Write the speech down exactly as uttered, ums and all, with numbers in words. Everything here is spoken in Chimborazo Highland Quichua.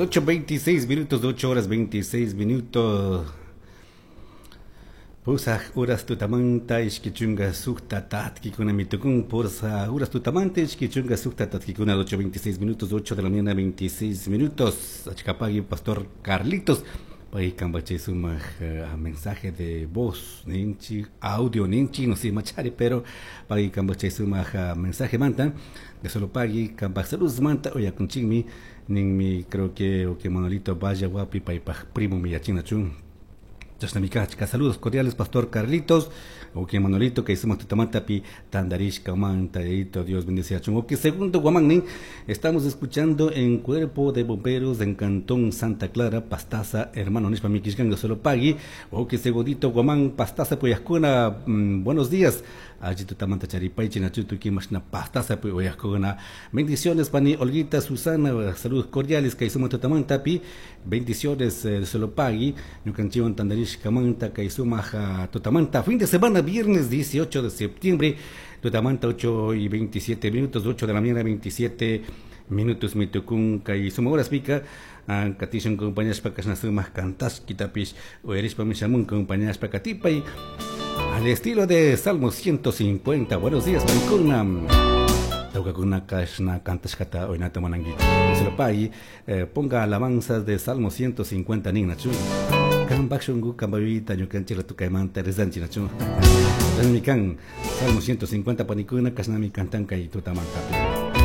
ocho veintiséis minutos, ocho horas veintiséis minutos. Pusaj horas tutamanta ishki chunga sukta tatkikuna mitukun. Pusaj horas tutamanta ishki chunga sukta tatkikuna, ocho veintiséis minutos, ocho de la mañana veintiséis minutos. Achkapagui Pastor Carlitos. Pay kambachay sumaj uh, mensaje de voz ninchi, audio ninchi, no sé machari, pero pay kambachay sumaj uh, mensaje manta de solo pagui kambaj saludos manta oyakunchikmi ninmi, creo que o que Manolito vaya guapi paypaj primo miyachina chun. Chashnamikachka, saludos cordiales Pastor Carlitos, o que Manolito que hicimos tutamanta pi tandarishka manta, Dios bendice a chun. O que segundo guamán estamos escuchando en Cuerpo de Bomberos en Cantón Santa Clara, Pastaza, hermano nishpa mikishkanga solo pagui, o que segundito guamán Pastaza puyascuna, mm, buenos días. Allí tutamanta charipay chinachutu kimashna Pastaza puyascuna. Bendiciones pani Olguita Susana, saludos cordiales que hicimos tutamanta pi, bendiciones eh, solo pagui, ñukanchiwan tandarishka manta kay sumaja tutamanta, fin de semana, viernes dieciocho de septiembre, tutamanta ocho y veintisiete minutos, ocho de la mañana veintisiete minutos mitukun kay suma horas pica katishun compañaspa kashna sumaj kantash kitapish uyarishpa mishamun compañaspa katipay al estilo de Salmo ciento cincuenta. Buenos días, panikuna. Tawkakuna kashna kantashkata oynata manangi. Solo pagui, eh, ponga alabanzas de Salmo ciento cincuenta ningnachu. Kambak shungu kambavita ñukanchik tukaymanta rezanchi nachu. Kan Salmo ciento cincuenta panikuna kashnami kantan kay tutamanta.